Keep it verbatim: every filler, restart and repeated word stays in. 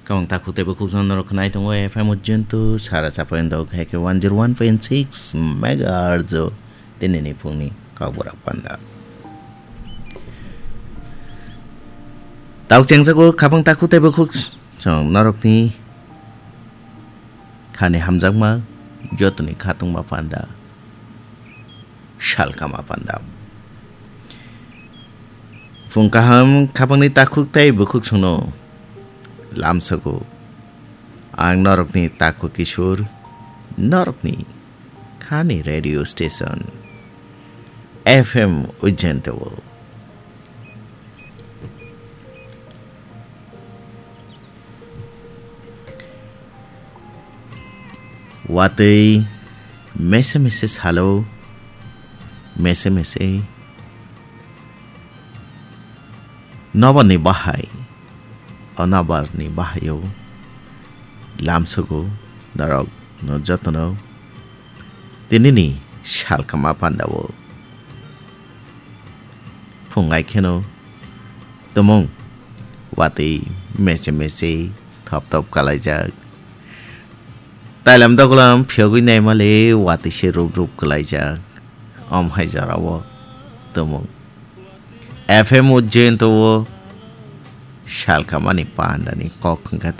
Kabang takhuk tei bukhuk jora norok khnai tongo F M Ujjainto sara chapayandok hai khe one zero one point six megahertz o tinini phungni kokborok panda. Tok chengjago kabang takhuk tei bukhuk chwng norokni khani hamjakma jotoni khatungma panda. Salkama panda. Phung kaham khapangni takhuk tei bukhuk songno lamsogo. Ang norokni takhuk Kishore, norokni khani radio station F M Ujjainto. Watwi mese mese salo, mese mese nobarni bahai, o nobarni bahaio lamsogo norok no jotono tinini salkama pandao. Phungai kheno tumung watwi meche meche thop thop kalaijak. Tailam dogolam phiyogwi naimale watwi se rup rup kalaijak. Om hai jorao tumung F M Ujjainto o salkamani pandani kok hwnkha